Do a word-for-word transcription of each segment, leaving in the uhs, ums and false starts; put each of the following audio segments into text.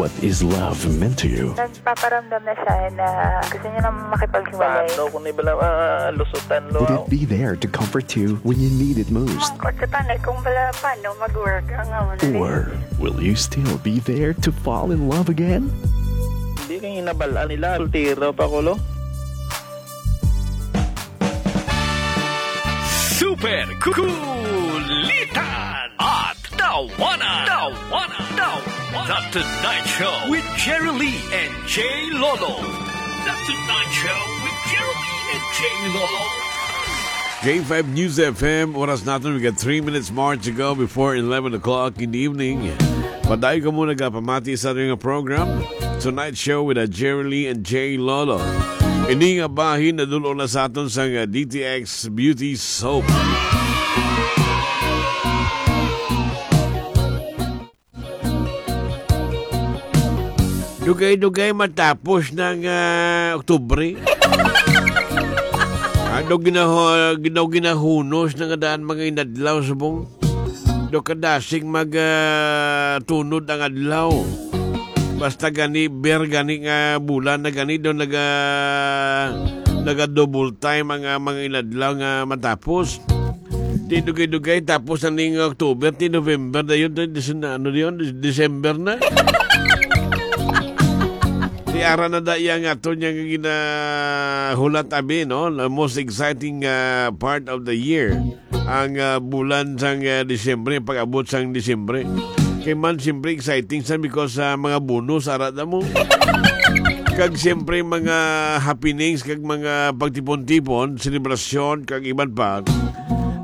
What is love meant to you? Nagpaparamdam na siya na gusto niya na makipaghiwalay. Paano kung ibala, ah, lusutan lo Would it ako? Be there to comfort you when you need it most? Mangkot sa tanay kung bala paano mag-work ang amo na ni. Or will you still be there to fall in love again? Hindi kay hinabalaan nila. Soltero pa ko, lo. Super Kulitan at Tawanan. Tawanan. Tawanan. The Tonight Show with Jerry Lee and Jay Lolo. The Tonight Show with Jerry Lee and Jay Lolo. K five News F M, oras natin, we got three minutes more to go before eleven o'clock in the evening. Padayon kamo nagapamati sa ating program, Tonight Show with, uh, Jerry Lee and Jay Lolo. Ini nga bahin nadul-ong na sa aton sang, uh, D T X Beauty Soap. Dugay-dugay matapos ng, ah, Oktubre. Ano ginaho-, ginaw-, ginahunos na nga daan mga inadlaw subong? Do kadasig mag, ah, tunod ang adlaw. Basta gani, ber gani nga bulan na gani, do naga-, naga-double time ang, ah, mga inadlaw nga matapos. Ti dugay-dugay, tapos na ning October, ti November na yun, ti Dece-, ano yun, Dec-, December na. Ti ara na da iya nga ato niya nga ginahulat, abi, no? The most exciting, ah, part of the year. Ang, ah, bulan sang, ah, Disyembre, pag-abot sang Disyembre. Kay man, siyempre, exciting sa because sa mga bonus, ara da mo. Kag siyempre, mga happenings, kag mga pagtipon-tipon, selebrasyon, kag iban pa.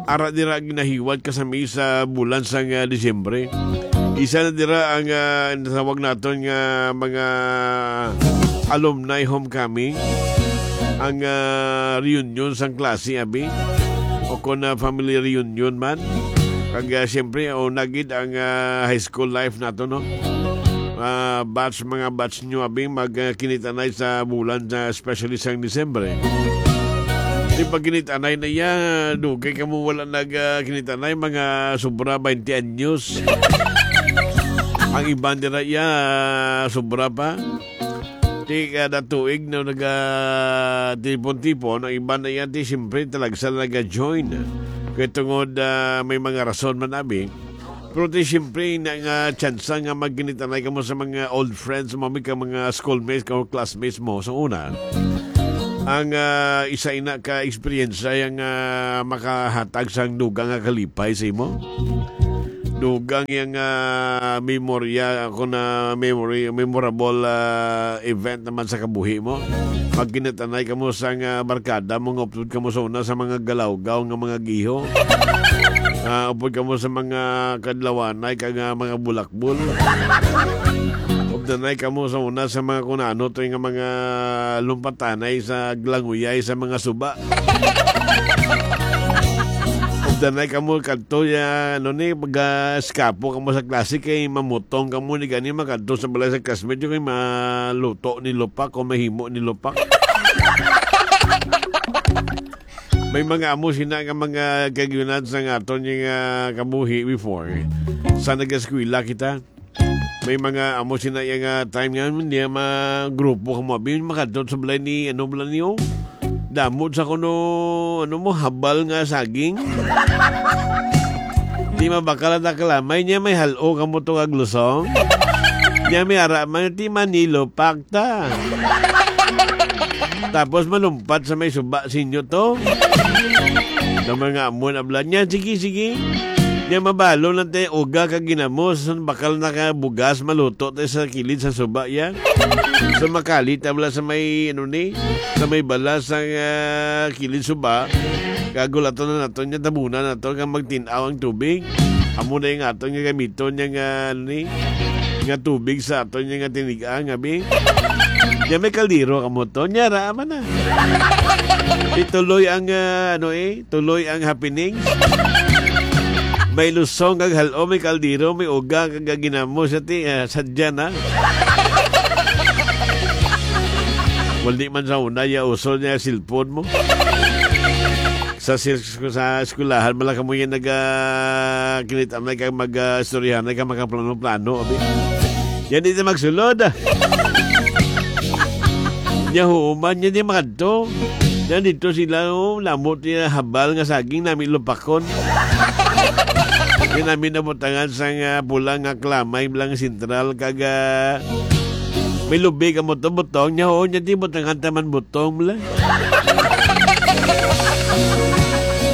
Ara dira ginahiwat kasami sa bulan sang, ah, Disyembre. Isa na dira ang, ah, natawag naton nga mga alumni homecoming, ang, ah, reunion sang klase, abi, o kon, ah, family reunion man. Kag, ah, siyempre, una gid ang, ah, high school life nato, no? Ah, batch, mga batch nyo, abi, mag, ah, kinitanay sa bulan, ah, especially sang Disyembre. Di pag kinitanay na iya, dugay kamo wala nag, ah, kinitanay, mga sobra twenty anyos. Ang iban dira iya, ah, sobra pa. Ti kada tuig na naga tipon-tipon, ang iban na iya, ti siyempre talagsa na naga-join. Kay tungod, ah, may mga rason man, abi. Pero ti siyempre na nga tsansa nga magkinitanay kamo sa mga old friends mo, abi, ka mga schoolmates, ka classmates mo sa una. Ang, ah, isa ina ka eksperyensya yang, ah, makahatag sang dugang nga kalipay sa imo. Dugang yang, ah, memorya, ako na memory, memorable, ah, event naman sa kabuhi mo. Magkinatanay kamo sang, ah, barkada mo, nga upod kamo sa una sa mga galawgaw nga mga giho. Ah, upod kamo sa mga kadlawanay kag, ah, mga bulakbol. Updanay kamo sa una sa mga kunano to nga mga lumpatanay sa glanguyay sa mga suba. Updanay kamo kadto ya, ano ni, pag, ah, eskapo kamo sa klase kay mamutong kamo ni gani makadto sa balay sa classmate kay maluto ni lupak o mahimo ni lupak. May mga amo sina nga mga kagiunan sa nga aton nga kabuhi before. Sa nag-eskwela kita, may mga amo sina iya nga time nga niya magrupo kamo, abi, makadto sa balay ni, ano, balay niyo? Damot sa kuno, ano mo, habal nga saging. Di mabakal ang nakalamay niya, may halo kamo to kag lusong. Niya may ara man, ti manilopak ta. Tapos malumpat sa may suba sinyo to. Sa mga amon abla niya, sige, sige. Niya mabalo lang tayo uga ka ginamos, bakal na ka bugas, maluto tayo sa kilid sa suba yan. So makalit abla sa may, ano ni, sa may balas sa, ah, kilid suba. Kagulaton na nato niya, tabunan nato nga magtin-aw ang tubig. Amo na yung aton nga gamiton niya nga, ano ni, nga tubig sa aton niya nga tinigang, abi. Niya may kaldero kamo to. Niya, ra man na. Ituloy ang, ah, ano eh, tuloy ang happening. May lusong kag halo, may kaldero, may uga kag ginamo sa ti, ah, sadya na. Wala man sa una, ya uso niya cellphone mo. Sa sil-, sa eskwelahan, mala kamo yan nag, ah, kinita na ka mag, ah, istoryahan na ka makaplano-plano, abi. Yan di na magsulod. Nya human, yan di makadto. Yan dito sila, oh, lamot niya habal nga saging nami lupakon. Yan nami nabutangan sa nga pula nga klamay lang sentral kag, ah, may lubi ka mo to butong niya, oh, niya di butangan taman butong mo lang.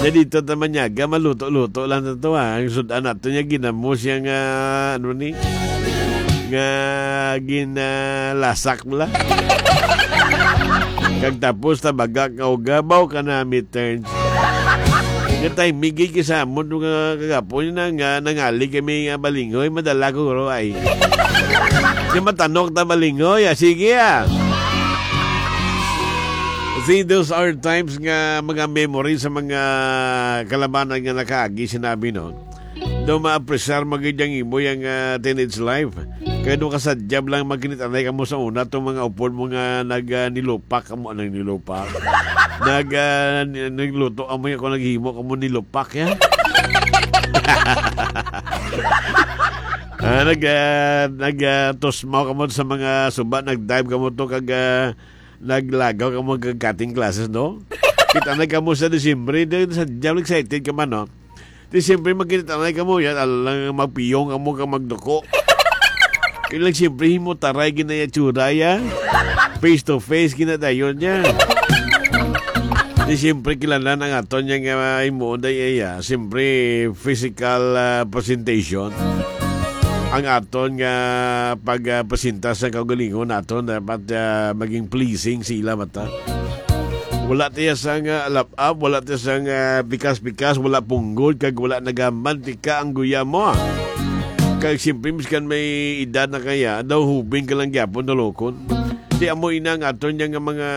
Nya dito taman niya, ga maluto-luto lang na to, ha. Ang sudan nato niya, ginamos siya nga, ano ni? Nga ginalasak mo lang. Kag tapos tabaga ka og gabaw ka na midterms. Nga timing gid kay sa amon nga kagapon na nga nangali kami nga balingoy, madala ko guro ay. Nga matanok ta balingoy, ah, sige, ah. See, those are times nga mga memories sa mga kalabanan nga nakaagi, sinabi, no? Daw maapresar mo gid ang imo yang, ah, teenage life. Kaya nung kasadyab lang magkinitanay ka mo sa una, tong mga upod mo nga nag, ah, nilupak, amo nang nilupak. Nag, ah, ni-, nagluto, amo yung kung naghimo ka mo nilupak, ya. Ah, nag, ah, nag, ah, tusmaw ka mo sa mga suba, nag-dive ka mo to, kag, ah, naglagaw ka mo kag cutting classes, no? Kita na ka mo sa Disyembre, di, sa diablo excited ka man, no? Di siyempre, magkita na ka mo, yan, alang magpiyong ka mo ka magduko. Kailang siyempre, himo taray ginaya tsura, ya. Face to face, ginadayon niya. Di siyempre, kilala na nga to niya nga himuon day, eh, ya. Siyempre, physical, ah, presentation. Ang aton nga pag, ah, presenta sa kaugalingon naton, dapat, ah, maging pleasing sa ila mata. Wala tiya sang, ah, lap-ap, wala tiya sang, ah, pikas-pikas, wala punggol, kag wala nagamantika ang guya mo. Kag siyempre, miskan may edad na kaya, daw hubin ka lang gyapon, nalukon. Di amo ina ang aton niya nga mga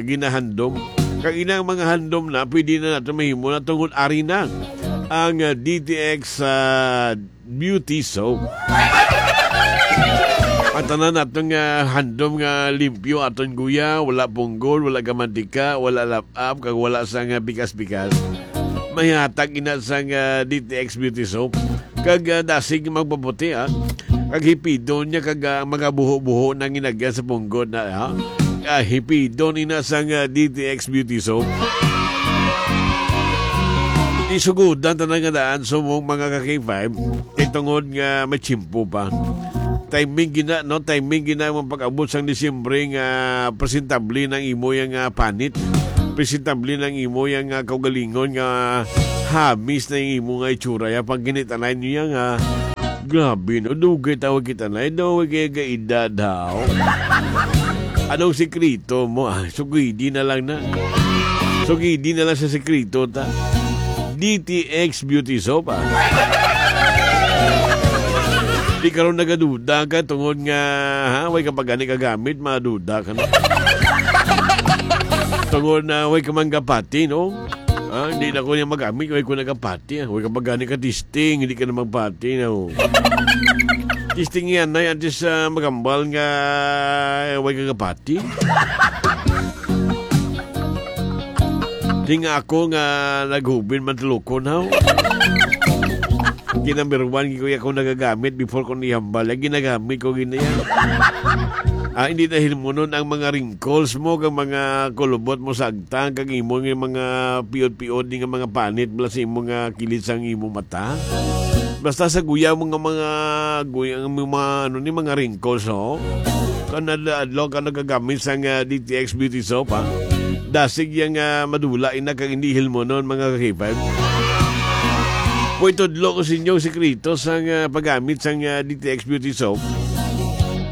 ginahandom. Kag ina ang mga handom na, pwede na nato mahimo na tungod ari na ang, ah, D T X, ah, Beauty Soap. Ang tanan naton nga handom nga limpyo aton guya, wala punggol, wala gamantika, wala lap-ap, kag wala sa nga bigas-bigas. Mahihatag ina sa nga D T X Beauty Soap. Kag, ah, dasig magpaputi, ah. Kag hipidon niya kag, ah, mga buho-buho na ginagyan sa punggod na, ha? Ah, hipidon ina sa nga D T X Beauty Soap. Isugudan tanan nga daan, sumong mga ka-K five. Kay tungod nga may tiyempo pa. Timing gina, no? Timing gina ang pag-abot sang Disyembre nga presentable nang imo yang, ah, panit. Presentable nang imo yang, ah, kaugalingon nga hamis na yung imo nga itsura. Ya, pag ginitanay niya nga, grabe, no? Dugay tawag kita na. Eh, daw, kaya kaedad, ha? Anong sikreto mo? Ah, sugidi na lang na. Sugidi na lang sa sikreto, ta. D T X Beauty Soap, ah. Di karon nagaduda ka tungod nga, ha, way ka pa gani kagamit, maduda ka na. Tungod na way ka man kapati, no? Ah, hindi na ko niya magamit, way ko nagapati, ah. Way ka pa gani ka testing, hindi ka na magpati, no? Testing yan, ay, antes, ah, magambal nga, eh, way ka kapati. Di nga ako nga naghubin man tulukon, haw. Ginamberwan ko ako nagagamit before ko nihambal. Ang ginagamit ko gina yan. Ah, hindi na hilmunon ang mga wrinkles mo, kag mga kulubot mo sa agtang, kag imo nga mga piod-piod, di nga mga panit, bala sa imo nga kilid sang imo mata. Basta sa guya mo nga mga, guya nga mga, ano ni, mga wrinkles, oh. Kung adlaw-adlaw ka nagagamit sang, ah, D T X Beauty Soap, ha? Dasig yang, ah, madula ina kag hindi hilmonon, mga ka-K five. Puy, tudlo ko sa inyo ang sikreto sang, ah, paggamit sang, ah, D T X Beauty Soap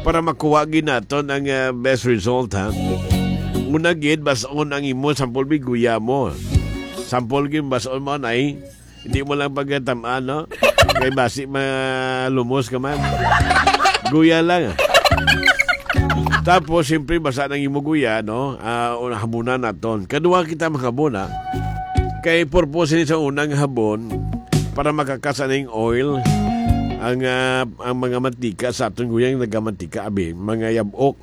para makuha gid naton ang, ah, best result, ha? Una gid, bas-on ang imo sample biguya mo. Sample gid, bas-on mo, nay. Hindi mo lang pagkatamaan, no? Kay basi malumos ka man. Guya lang, ah. Tapos, siyempre, basa nang imo guya, no? Ah, una, habunan naton. Kadua kita mahabon, ah. Kay purpose ni sa unang habon, para makakasa ning oil, ang, ah, ang mga mantika sa aton guyang nagamantika, abi, mga yabok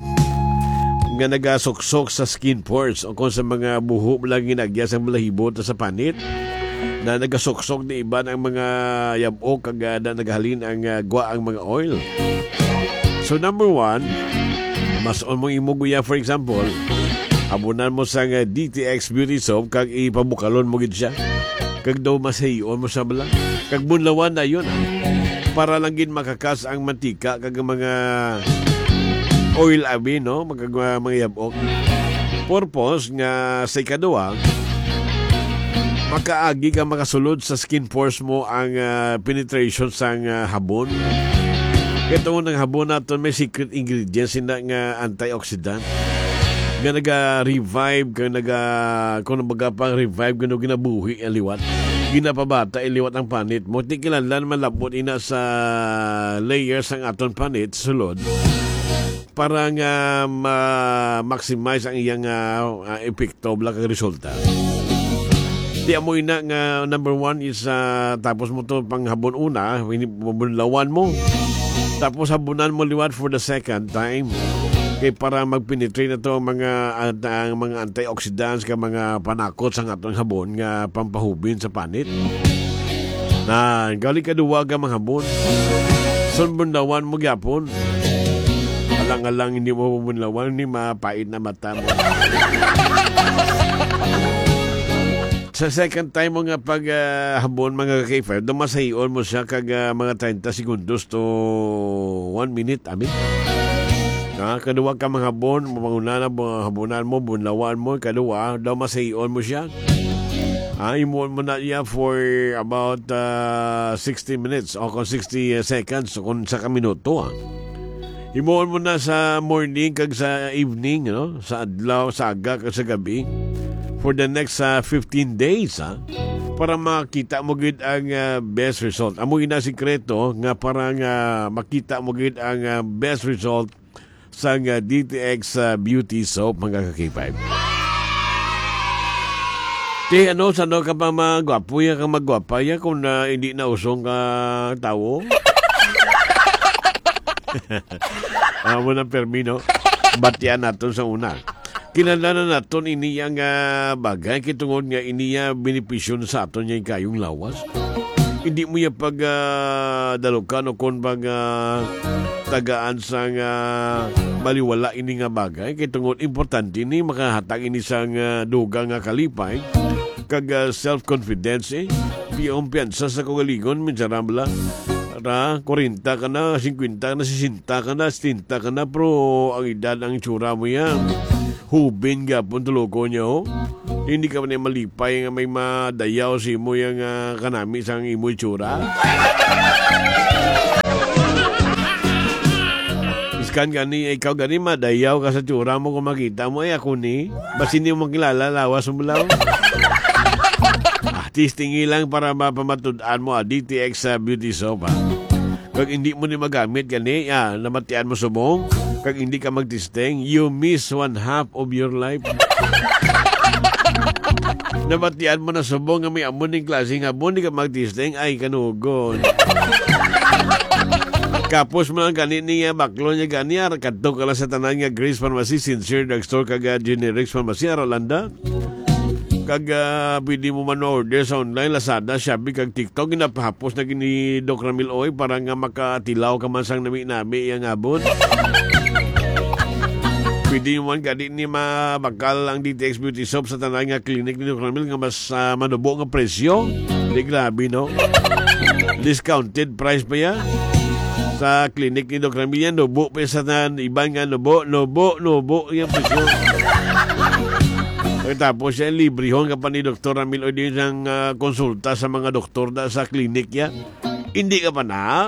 nga nagasuksok sa skin pores o kung sa mga buho lang ginagya sa balahibo ta sa panit na nagasuksok ni iban ang mga yabok kag, ah, na naghalin ang, ah, gwa ang mga oil. So, number one, mas-on mo imo guya, for example, habunan mo sa nga D T X Beauty Soap kag ipabukalon mo gid siya. Kag daw masayon mo sa bala. Kag bunlawan na yun, ah. Para lang gid makakas ang mantika kag ang mga oil abi, no? Magag-, mga yabok. Purpose nga sa ikaduha, makaagi ka makasulod sa skin pores mo ang, ah, penetration sang, ah, habon. Kay tungod ang habon naton may secret ingredients sina nga antioxidant nga naga-revive, kag naga-, kung baga pang revive, kung ginabuhi ang liwat, ginapabata ang liwat ang panit mo. Di kinahanglan malabot ina sa layers ang aton panit sulod para nga ma-maximize ang iyang, ah, ah, epekto, bala kag resulta. Di amo ina nga number one is, ah, tapos mo to panghabon una, ini-, bunlawan mo. Tapos habunan mo liwat for the second time. Kay para mag-penetrate na to ang mga, ang, ang mga antioxidants ka mga panakot sa atong habon nga pampahubin sa panit. Na, gali ka duwa ka manghabon. Sunbunlawan mo gyapon. Alang-alang hindi mo mabunlawan ni mapait na mata mo. Sa second time mo nga pag, ah, habon, mga ka-K five, dumasayon mo siya kag, ah, mga treinta segundos to one minute, abi. Na, kaduwa ka manghabon, manguna na, bu-, habunan mo, bunlawan mo, kaduwa, daw masayon mo siya. Ah, himuon mo na iya for about, ah, sixty minutes o kung sixty seconds o kung sa ka minuto, ah. Himuon mo na sa morning kag sa evening, no? Sa adlaw, sa aga kag sa gabi for the next, ah, fifteen days, ah, para makita mo gid ang, ah, best result. Amo ina sikreto nga para nga makita mo gid ang, ah, best result sang, ah, D T X, ah, Beauty Soap, mga ka-K five. Ti, ano, sa ano ka pa magwapo ya, kang magwapa ya, kung, ah, hindi na usong ka tawo? Amo na, permi, no? Batian naton sa una. Kinahanglan naton ini ang, ah, bagay, kay tungod nga ini, ah, benepisyo na sa aton nga kayong lawas. Hindi mo ya pag, ah, dalukan o kon pag, ah, tagaan sang, ah, baliwala ini nga bagay. Kay tungod importante ni makahatag ini sang, ah, dugang nga kalipay kag, ah, self-confidence, eh. Piyong piyansa sa kaugalingon, miserable. Ra, kwarenta ka na, singkwenta ka na, sesenta ka na, setenta ka na, pero ang edad, ang itsura mo yan. Hubin gyapon tuloko niya, oh. Hindi ka man malipay nga may madayaw sa imo yang, ah, kanami sang imo itsura. Iskan gani, ikaw gani, madayaw ka sa tsura mo kung makita mo, ay ako ni. Basi hindi mo makilala, lawas mo lang. Ah, testing lang para mapamatud-an mo, ah, D T X, ah, Beauty Soap, ah. Kag hindi mo ni magamit gani, ah, namatian mo subong, kag hindi ka magtesting, you miss one half of your life. Namatian mo na subong nga may amo ning klase nga amo, di ka magtesting, ay, kanugon. Kapos mo lang gani niya, baklo niya gani, ar-, kadto ka lang sa tanan nga Grace Pharmacy, Sincere Drugstore, kag, ah, Generics Pharmacy, Aralanda. Kag, ah, pwede mo man order sa online, Lazada, Shopee, kag TikTok. Ginapahapos na gini Doc Ramil Oy para nga makatilaw ka man sang nami-nami yang abot. Pwede mo man gani ni mabakal ang D T X Beauty Soap sa tanan nga clinic ni Doc Ramil nga mas, ah, manubo nga presyo. Di grabe, no? Discounted price pa ya. Sa clinic ni Doc Ramil yan, nubo pa sa tanan, iban nga nubo, nubo, nubo, yung presyo. Pagkatapos siya, librehon ka pa ni Doktor Ramil o di sang, ah, konsulta sa mga doktor da sa klinik niya. Hindi ka pa na?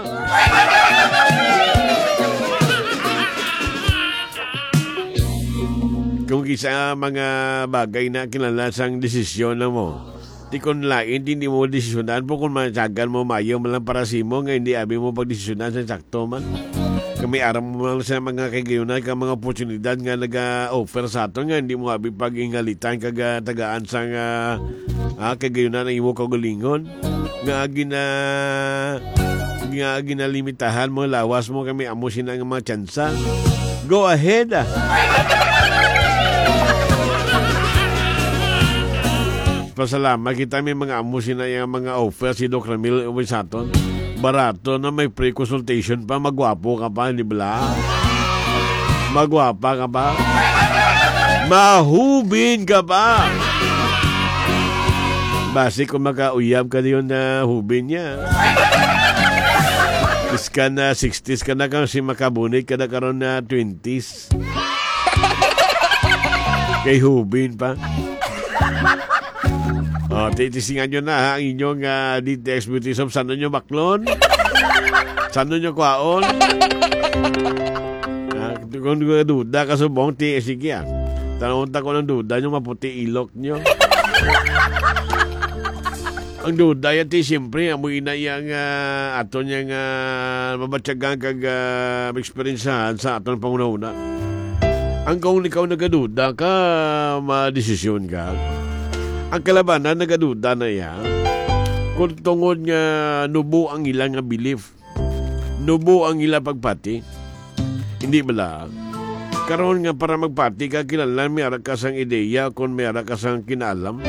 Kung kisa mga bagay na kinala sang desisyon na mo, di kon lain, di, di mo desisyonan po kung matyagan mo mayo man lang para sa imo nga hindi abi mo pagdesisyonan sa sakto man. Kami aram mo lang sa mga kagayunan ka mga oportunidad nga naga-offer sa aton nga hindi mo abi pag-ingalitan kag, ah, tagaan sa nga, ah, kagayunan ang imo kaugalingon nga gina-, nga ginalimitahan mo lawas mo kami amo sina nga mga tsansa. Go ahead, ah. Pasalamat kita may mga amo sina yung mga offer si Doc Ramil uwi sa aton. Barato na, may free consultation pa, magwapo ka pa, di bala? Magwapa ka pa? Mahubin ka pa? Basi kung makauyab ka diyon na hubin niya. Iskan na sixties ka na, kasi makabunit ka na karon na twenties. Kay hubin pa. O, titisingan nyo na, ha, ang inyong, ah, D T X Beauty Soap. Saan nyo baklon? Saan nyo kwaon? Ah, kung duda ka subong, ti, sige, ah. Tanong ta ko ng duda nyo, maputi ilok nyo. Ang duda yan, ti, siyempre, amo ina yang, ah, aton yang, ah, mabatyagan kag, ah, eksperyensyahan sa aton panghunahuna. Ang kung ikaw nagaduda ka, madesisyon ka. Ang kalabanan nagaduda na iya. Kung tungod nga nubo ang ila nga belief, nubo ang ila pagpati. Hindi bala? Karon nga para magpati ka, kinahanglan may ara ka sang ideya, kung may ara ka sang kinaalam.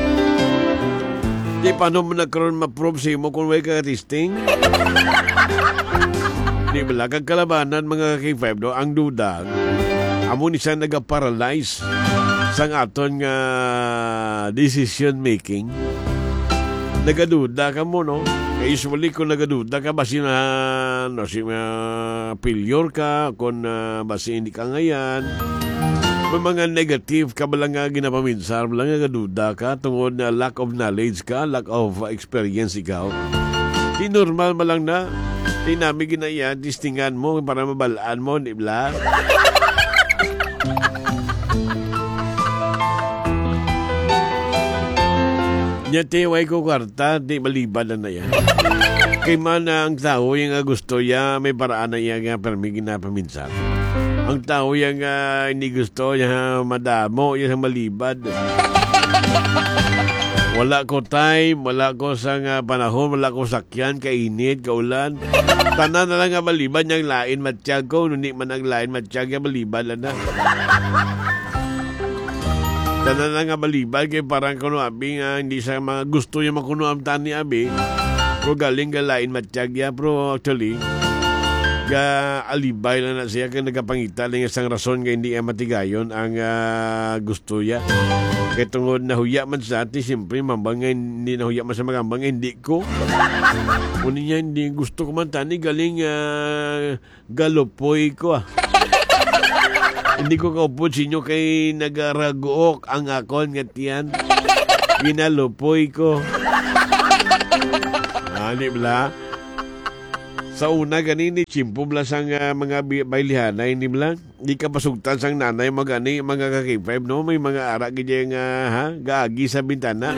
Di paano mo na karon ma-prove sa imo kung way ka testing? Di bala? Kag kalabanan, mga K five, no? Ang duda, amo ni siya nagaparalyze sang aton nga decision making. Nagaduda ka mo, no? Kay usually, kung nagaduda ka, basi na, no, si, ah, failure ka, kung, ah, basi hindi ka ngayan. May mga negative ka bala nga ginapaminsar, bala nga gaduda ka, tungod na lack of knowledge ka, lack of experience ikaw. Di normal man lang na. Di nami ginaya, testingan mo para mabalaan mo, di bala? Nya, ti, way ko kwarta, di malibad na na yan. Kay man ang tao yung nga gusto ya, may paraan na iya nga permi ginapaminsar. Ang tao yang, ah, hindi gusto ya madamo, ya sa malibad. Wala ko time, wala ko sa nga panahon, wala ko sakyan, kainit, kaulan. Tanan na lang nga malibad yang lain matyag ko, nuni man ang lain matyag ya malibad lang na. Tanan na nga malibad kay parang kuno abi nga hindi sa mga gusto yung makuno ang tani abi. Pero galing ka lain matyag ya, pero actually, ga alibay lang na siya kay nagapangita lang isang rason nga hindi iya matigayon ang, ah, gusto ya. Kay tungod nahuya man sa ati, siyempre, mambang nga hindi nahuya man sa magambang nga hindi ko. Kunin niya, hindi gusto ko man tani, galing, ah, galupoy ko, ah. Hindi ko kaupod sa inyo kay nagaraguok ang akon nga tiyan. Ginalupoy ko. Ah, di bala? Sa una, ganini, tsimpo bala sang, ah, mga bi-, baylihanay, di bala? Di ka pasugtan sang nanay mo gani, mga ka-K five, no? May mga ara gid nga, ha? Gaagi sa bintana.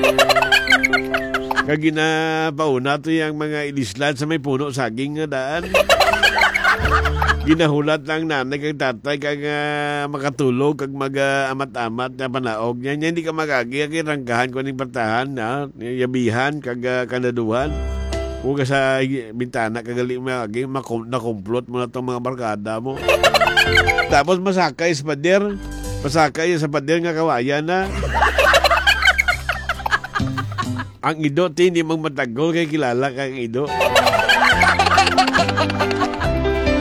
Kag ginapauna to yang mga ilislad sa may puno saging nga daan. Ginahulat lang nanay kag tatay kag, ah, makatulog kag mag, ah, amat-amat na panaog niya. Niya hindi ka magagi, kay ranggahan ko ning partahan, ha? Yabihan kag, ah, kanaduhan. Huwag ka sa bintana kag gali magagi, makum-, nakumplot mo na tong mga barkada mo. Tapos masakay sa pader. Masakay sa pader nga kawayan na. Ang ido, ti, hindi magmatagol kay kilala ka ang ido.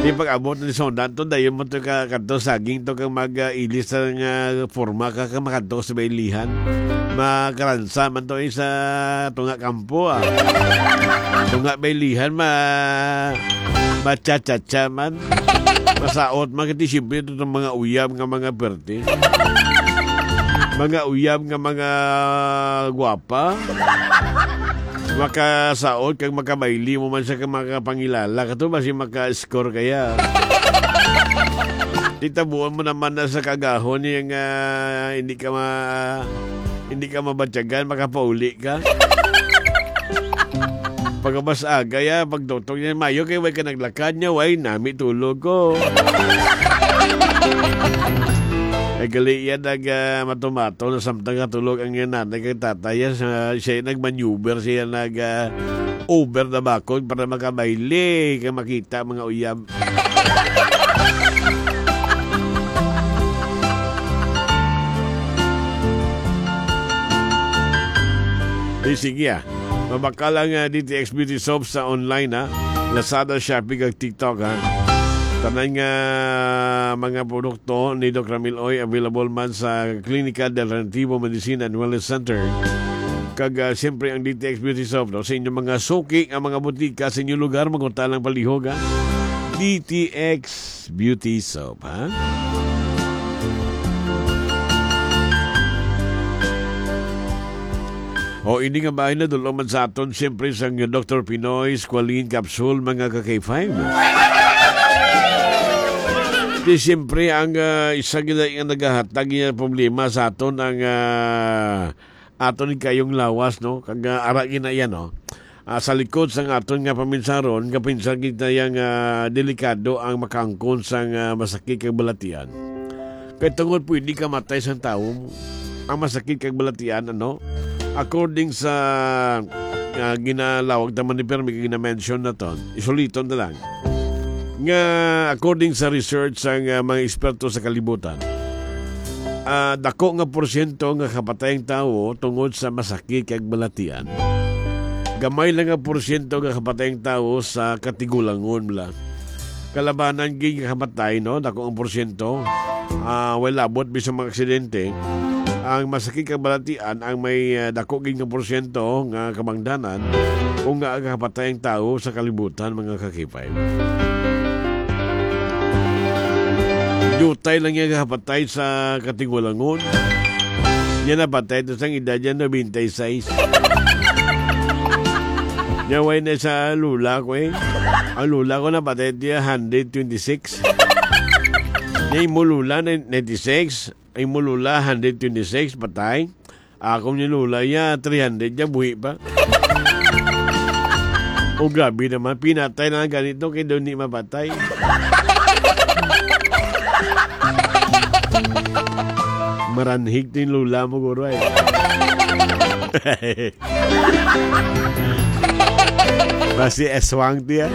Di pag-abot ni Sondan to, dayon mo to ka, kadto saging to kang mag, ah, ilis sa nga forma ka, ka makadto sa baylihan. Makaransa man to, eh, sa tunga kampo, ah. Tunga baylihan, ma-, macha-cha-cha man. Masaot man, kati siyempre, ito itong mga uyab nga mga perte. Mga uyab nga mga gwapa. Makasaot kag makabayli mo man sa ka-, makapangilala. Kato ba si maka-score kaya? Titabuan mo naman na sa kagahon yung, ah, hindi ka ma-, hindi ka mabatyagan, makapauli ka. Pagkabas aga ya, pagtutok niya, mayo kay way ka naglakad niya, way nami tulog ko. Ay, gali yan, nag, ah, matumato na samtang katulog ang iyang nanay kag tatay. Yan, sa, siya yung nag-maneuver, siya nag, ah, over the backhoe para makabayli, kay makita mga uyab. Eh, sige, ah. Mabakal ang, ah, D T X Beauty Soap sa online, ha. Lazada, Shopee, kag TikTok, ha? Tanan nga mga produkto ni Doc Ramil Oy available man sa Klinika de Alternativo Medicine and Wellness Center kag, ah, siyempre ang D T X Beauty Soap, no? Sa inyong mga suki nga mga butika sa inyong lugar, manguta lang palihog, ha? D T X Beauty Soap, ha? O, ini nga bahin na dulong man sa aton, siyempre, sang Doktor Pinoy Squalene Capsule, mga ka-K five. Di, siyempre, ang, ah, isa gid nga nagahatag niya problema sa aton ang, ah, aton kayong lawas, no? Kag, ah, ara gid na yan, no? Ah, sa likod sang aton nga paminsaron, kapinsar gid na yang, ah, delikado ang makaangkon sang, ah, masakit kag balatian. Kay tungod pwede ka matay sang tawo ang masakit kag balatian, ano? According sa, ah, ginalawag ta man ni Permi, kag gina-mention naton, isuliton na lang. Nga according sa research sang, ah, mga eksperto sa kalibutan, ah, dako nga porsyento nga kapatay ang tawo tungod sa masakit kag balatian. Gamay lang nga porsyento nga kapatay ang tawo sa katigulangon, bala. Kalabanan gid nga kapatay, no? Dako ang porsyento. Ah, way labot bisan mga aksidente. Ang masakit kag balatian ang may, ah, dako gid nga porsyento nga kabangdanan kung nga kapatay ang tawo sa kalibutan, mga ka-K five. Dutay lang niya kapatay sa katigulangon. Niya napatay to sang edad niya ninety-six. Niya way na sa lula ko, eh. Ang lula ko napatay niya hundred twenty-six. Niya imo lula na ninety-six, imo lula hundred twenty-six, patay. Ako ni lula ya three hundred ya, buhi pa. O, grabe naman, pinatay na lang ganito kay daw ni mapatay. Maranhig to yung lula mo, guro, eh. Basi eswang tiya.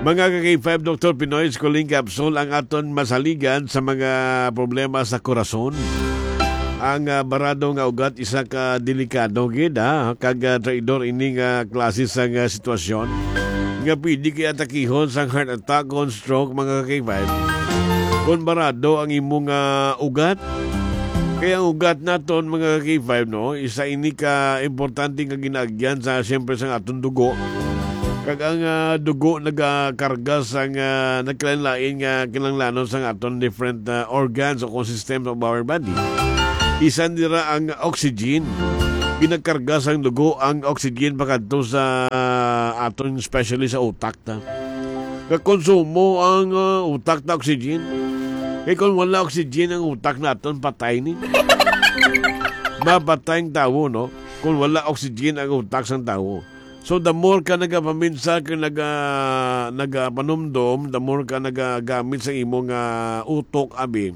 Mga ka-K five, Doktor Pinoy Squalene Capsule ang aton masaligan sa mga problema sa korason. Ang, ah, barado nga ugat isa ka delikado gid, ha, kag, ah, traidor ini nga klase sang, ah, sitwasyon nga pwede kay atakihon sang heart attack kon stroke, mga ka-K five. Kon barado ang imong, ah, ugat, kaya ang ugat naton, mga ka-K five, no, isa ini ka importante nga ginaagyan sa, siyempre, sa aton dugo. Kag ang, ah, dugo nagakarga sang, ah, nagkalain-lain nga kinahanglanon sang aton different, ah, organs o kung systems of our body. Isa nira ang oxygen. Ginakarga sang dugo ang oxygen pakadto sa, ah, aton, especially sa utak ta. Kakonsumo ang, ah, utak ta oxygen. Kay kung wala oxygen ang utak naton, patay ni. Mapatay ang tawo, no? Kung wala oxygen ang utak sang tawo. So, the more ka nagapaminsa, ka naga-, nagapanumdom, the more ka nagagamit sa imong, ah, utok, abi,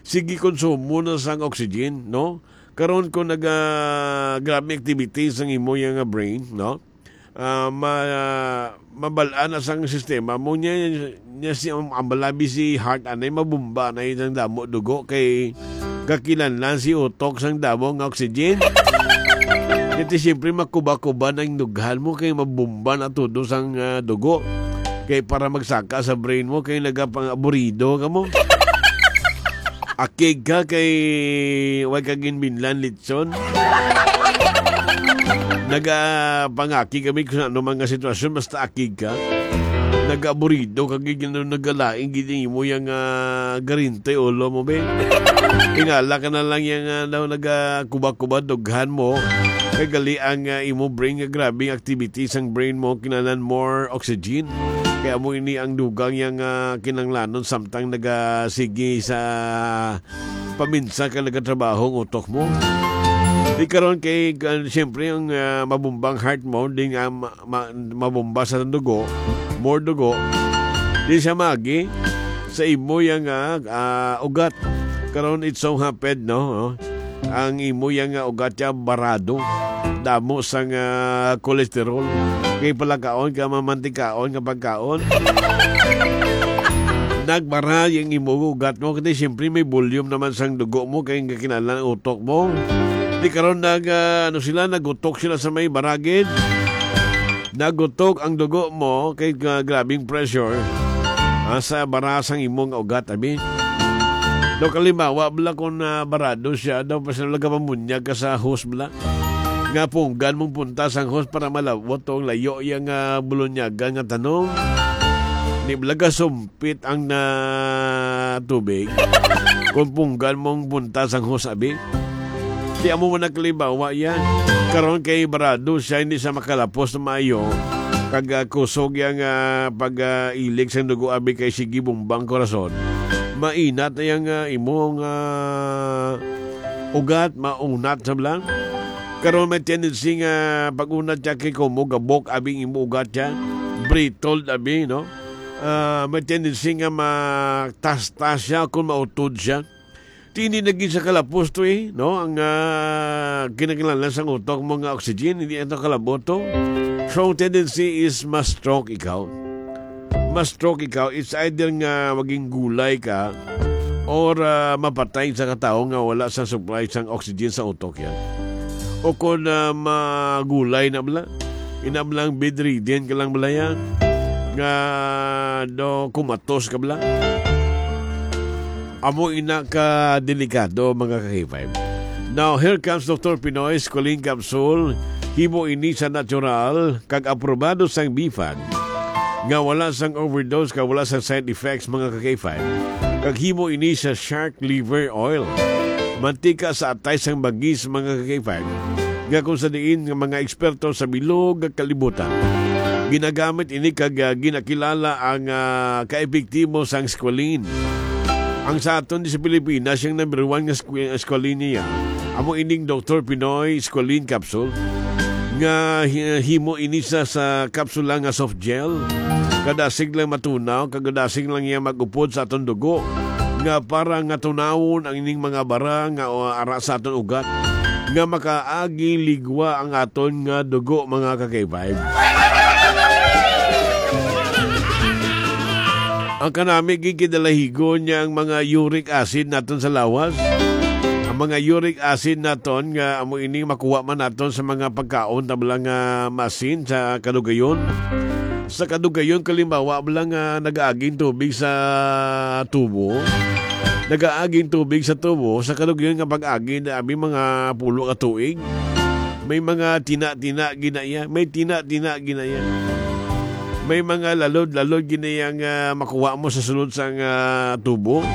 sige, konsumo na sang oxygen, no? Karon, kung naga-, grabe activities ang imo yang brain, no? Ah, ma-, mabal-an na sang sistema mo niya, niya si, ang, ang balabi si heart, anay mabumba na yung damo dugo kay kakilanlan si utok sang damo nga oxygen. Kaya siyempre, makuba-kuba na yung dughan mo kay mabumba na todo sang, ah, dugo. Kay para magsaka sa brain mo, kay nagapang-aburido ka mo. Akig ka kay way ka ginbinlan litson. Nagapangaki kami kung ano mga sitwasyon, basta akig ka. Nag-aburido ka, gid, ano, nagalain gid ang imo yang, ah, garinte ulo mo, be. Tingala ka na lang yang, ah, daw nagakuba-kuba dughan mo. Kay gali ang, ah, imo brain nga grabe ang activity sang brain mo, kinahanglan more oxygen. Kaya mo ini ang dugang yang, ah, kinanglanon samtang nagasigi sa paminsa ka nagatrabaho ang utok mo. Di karon kay, ah, siyempre, ang, ah, mabumbang heart mo, di nga ma-, ma-, mabumba sa dugo, more dugo, di siya magi sa imo yang, ah, ah, ugat. Karon, it so happened, no, no? Ang imo yang, ah, ugat ya barado. Damo sang, ah, cholesterol. Kay palakaon ka, mamantikaon nga pagkaon. Nagbara yung imo ugat mo, kasi siyempre may volume naman sang dugo mo, kay nga kinahanglan ang utok mo. Di karon nag, ah, ano sila, nagutok sila sa may baragid. Nagutok ang dugo mo kay, ah, grabing pressure, ah, sa bara sang imo nga ugat, abi. Daw kalimbawa, bala, kung, ah, barado siya, daw pa sila nagapamunyag ka sa hose, bala. Nga punggan mong punta sang hose para malabot ang layo yang, ah, bulunyagan nga tanong. Di bala ka sumpit ang na tubig. Kung punggan mong punta sang hose, abi. Di amo man ang kalimbawa yan. Karon kay barado siya, hindi siya makalapos na maayo. Kag, ah, kusog yang, ah, pag, ah, ilig sang dugo, abi, kay sige bumbang korason. Mainat na yang, ah, imong, ah, ugat, maunat sa blang. Karon may tendency nga pag-unat siya kay kumo gabok, abi, ang imo ugat siya. Brittle, abi, no? Ah, may tendency nga matastas siya kung mautod siya. Ti hindi na gid sa kalapos to, eh, no? Ang, ah, kinahanglan sang utok mo nga oxygen, hindi ito kalabot to. Strong tendency is ma-stroke ikaw. Ma-stroke ikaw, it's either nga maging gulay ka or, ah, mapatay sa katawo nga wala sa supply sang oxygen sa utok yan. O kung, ah, magulay na bala, inablang bedridden ka lang bala yan, nga do kumatos ka bala. Amo ina ka delikado, mga ka-K five. Now, here comes Doctor Pinoy Squalene Capsule. Himo ini sa natural kag aprobado sang BFAD, nga wala sang overdose kag wala sang side effects, mga ka-K five. Kag himo ini sa shark liver oil, mantika sa atay sang bagis, mga ka-K five, nga kung sa diin nga mga eksperto sa bilog nga kalibutan ginagamit ini kag, ah, ginakilala ang, ah, kaepektibo sang squalene. Ang sa aton di sa Pilipinas, yung number one nga squ-, squalene niya, amo ining Doktor Pinoy Squalene Capsule, nga hi-, himo ini sa, sa kapsula nga soft gel. Kadasig lang matunaw, kag kadasig lang iya mag-upod sa aton dugo, nga para nga tunawon ang ining mga bara nga, o, ara sa aton ugat, nga makaagi ligwa ang aton nga dugo, mga ka-K five. Ang kanami gid kidalahigon niya ang mga uric acid naton sa lawas. Ang mga uric acid naton nga amo ini makuha man naton sa mga pagkaon, tabla nga masin sa kadugayon. Sa kadugayon, kalimbawa, bala nga nagaaging tubig sa tubo. Nagaaging tubig sa tubo, sa kadugayon nga pag-agi, na abi mga pulo ka tuig. May mga tina-tina ginaya. May tina-tina ginaya. May mga lalod-lalod ginaya nga makuha mo sa sulod sang, ah, tubo.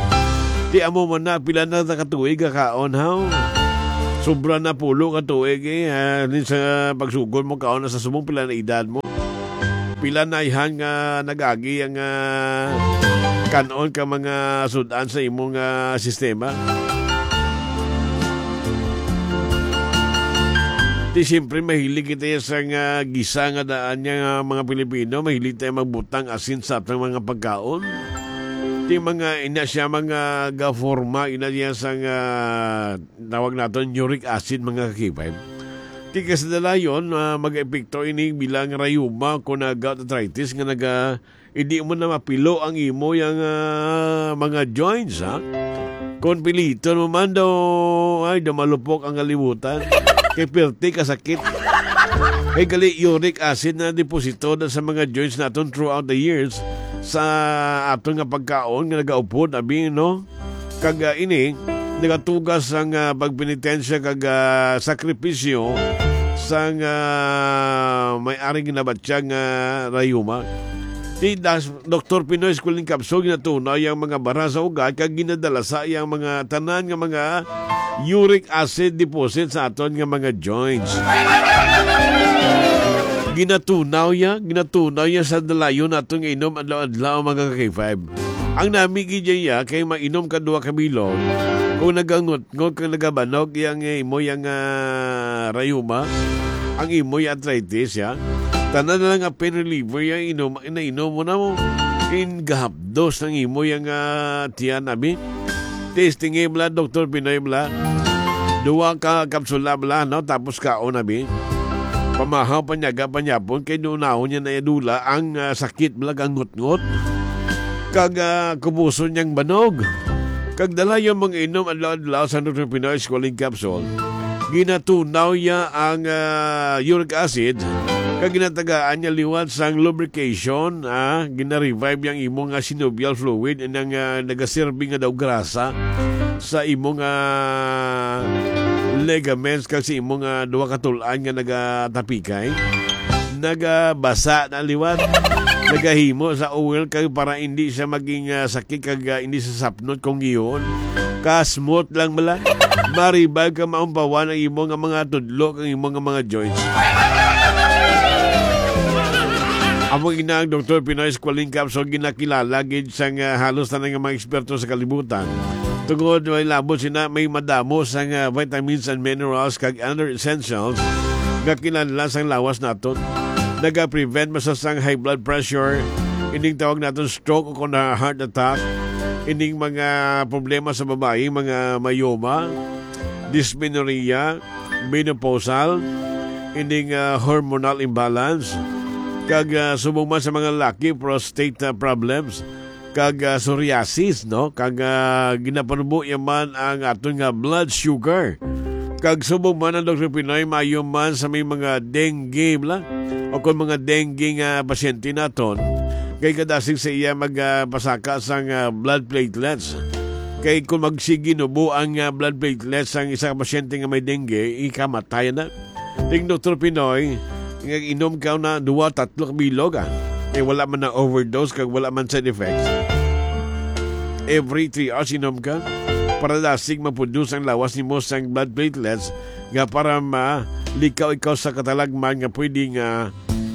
Ti amo man na, pila na ta ka tuig ka kaon, haw? Sobra na pulo ka tuig, eh, ah, din sa pagsugod mo kaon na sa subong, pila na edad mo? Pila na ihan nga nag-agi ang, ah, kan-on ka mga sud-an sa imong, ah, sistema? Di siyempre, mahilig kita sa nga gisa nga daan niya nga mga Pilipino. Mahilig tayo magbutang asin sa atong mga pagkaon. Di mga ina siya, mga gaforma, ina niya sa nga tawag naton uric acid, mga kakibay. Ti kasdalayon, ah, mag-epekto ini bilang rayuma kon, ah, gout arthritis nga naga, hindi mo na mapilo ang imo yang, ah, mga joints, ha? Kon piliton mo man daw, ay, daw malupok ang kalibutan. Kay perti kasakit. Kay gali uric acid na deposito na sa mga joints naton throughout the years sa aton nga pagkaon nga nagaupod, abi, no? Kag, ah, ini, nagatugas ang, ah, pagpenitensya kag, ah, sakripisyo sang, ah, may-ari ginabatyag nga rayuma. Ti das-, Doktor Pinoy Squalene Capsule ginatunaw yang mga bara sa ugat kag ginadala sa yang mga tanan nga mga uric acid deposit sa aton nga mga joints. Ginatunaw ya, ginatunaw ya sa dalayon naton nga inom adlaw-adlaw, mga ka-K five. Ang nami gid ya kay mainom ka duha ka bilog. Kung nagangot-ngot kag nagabanog yang imo yang, ah, rayuma, ang imo yang arthritis ya, tanan na lang nga pain reliever yang inom, nainom mo na mo. In gahapdos ang imo yang, ah, tiyan, abi. Testing, eh, bala, Doktor Pinoy, bala. Duha ka kapsula, bala, no? Tapos kaon, abi. Pamahaw, panyaga, panyapon, kay dunahon niya na idula ang, ah, sakit, bala, kang ngot-ngot. Kag, ah, kubuson niyang banog. Kag dala yung mga inom adlaw-adlaw sa Nutri Pinoy Squalene Capsule. ginatunaw niya ang, ah, uric acid, kag ginatagaan niya liwat sang lubrication, ah, gina-revive niya ang imo nga synovial fluid, nang, ah, nagaserbi nga daw grasa sa imo nga ligaments kag sa imo nga duha ka tul-an nga nagatapikay. Nagabasa na liwat. Nagahimo sa oil kag para hindi siya maging, ah, sakit kag, ah, hindi siya sapnot kung giyon. Kasmot lang bala. Maribag ka maumpawan ang imo nga mga tudlo kag imo nga mga joints. Amo ina ang Doktor Pinoy Squalene Capsule, ginakilala gid sang, ah, halos tanan nga mga eksperto sa kalibutan. Tungod may labot sina, may madamo sang, ah, vitamins and minerals kag other essentials nga kinahanglan sang lawas naton. Naga-prevent man sa sang high blood pressure, ining tawag naton stroke o kon heart attack, ining mga problema sa babayi, mga myoma, dysmenorrhea, menopausal, ining, ah, hormonal imbalance, kag, ah, subong man sa mga laki, prostate, ah, problems, kag, ah, psoriasis, no? Kag, ah, ginapanubo iya man ang aton nga blood sugar. Kag subong man ang Doktor Pinoy, maayo man sa may mga dengue, bla? O kung mga dengue nga pasyente naton, kay kadasig sa iya mag, ah, pasaka sang, ah, blood platelets. Kay kung magsige nubo ang, ah, blood platelets sang isa ka pasyente nga may dengue, ikamatay na. Ting Doktor Pinoy, nga inom ka na duwa, tatlo ka bilog, ah. Eh, wala man na overdose, kag wala man side effects. Every three hours, inom ka. Para dasig ma-produce ang lawas nimo sang blood platelets, nga para malikaw ikaw sa katalagman nga pwede nga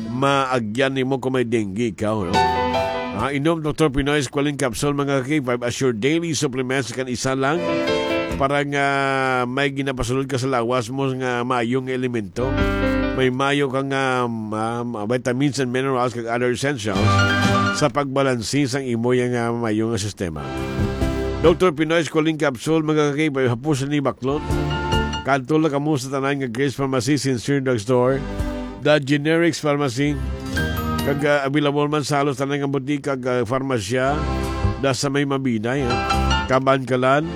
maagyan nimo kung may dengue ikaw, no? Ah, inom Doktor Pinoy Squalene Capsule, mga ka-K five, as your daily supplements kan isa lang para nga may ginapasulod ka sa lawas mo nga maayo nga elemento. May maayo ka nga, um, um, vitamins and minerals kag other essentials sa pagbalansi sang imo yang, uh, maayo nga sistema. Doktor Pinoy Squalene Capsule, mga ka-K five, hapos ni baklon. Kadto lang kamo sa tanan nga Grace Pharmacy, Sincere Drugstore, The Generics Pharmacy, kag, ah, available man sa halos tanan nga butika kag, ah, farmasya, da sa may Mabinay, ha? Kabankalan,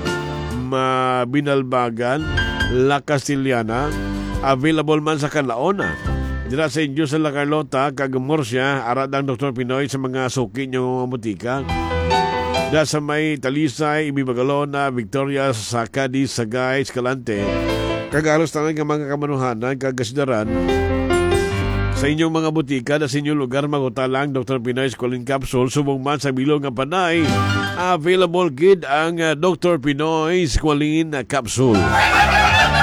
Ma-, Binalbagan, La Castellana, available man sa Calaona. Dira sa inyo sa La Carlota kag Murcia, ara dang Doktor Pinoy sa mga suki nyo nga butika. Da sa may Talisay, Ibibagalona, Victoria, Sacadi, Sagay, Escalante, kag halos tanan nga mga kamanuhanan kag kasidaran. Sa inyong mga butika, da sa inyong lugar, makuha lang Doktor Pinoy Squalene Capsule. Subong man sa bilog nga Panay, available gid ang, ah, Doktor Pinoy Squalene Capsule.